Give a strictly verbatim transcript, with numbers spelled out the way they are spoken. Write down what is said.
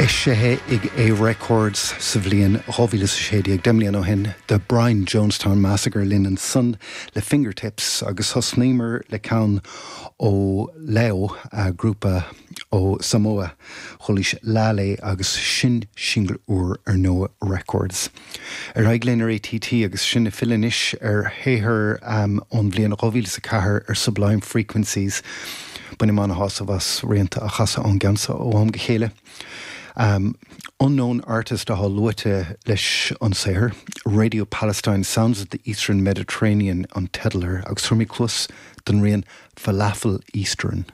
Eisithe ag A Records sa bhliain dhá mhíle is a sé déag, deich mbliana ó shin, The Brian Jonestown Massacre linn ansan le Fingertips agus thosnaíomar le ceann ó Leo, grúpa ó Samoa, Chualaís Lale agus sin singil úr ar Noah Records. Ar aghaidh linn ar ATT agus sinn ag filleadh anois ar shaothar ón bhliain dhá mhíle is a ceathair ar Sublime Frequencies. Bainim an-shásamh as rianta a chasadh ón gceann seo ó am go chéile. Unknown Artist atá luaite leis an saothar, Radio Palestine Sounds of the Eastern Mediterranean an teideal air agus tabharfaimid cluas don rian Falafel Eastern.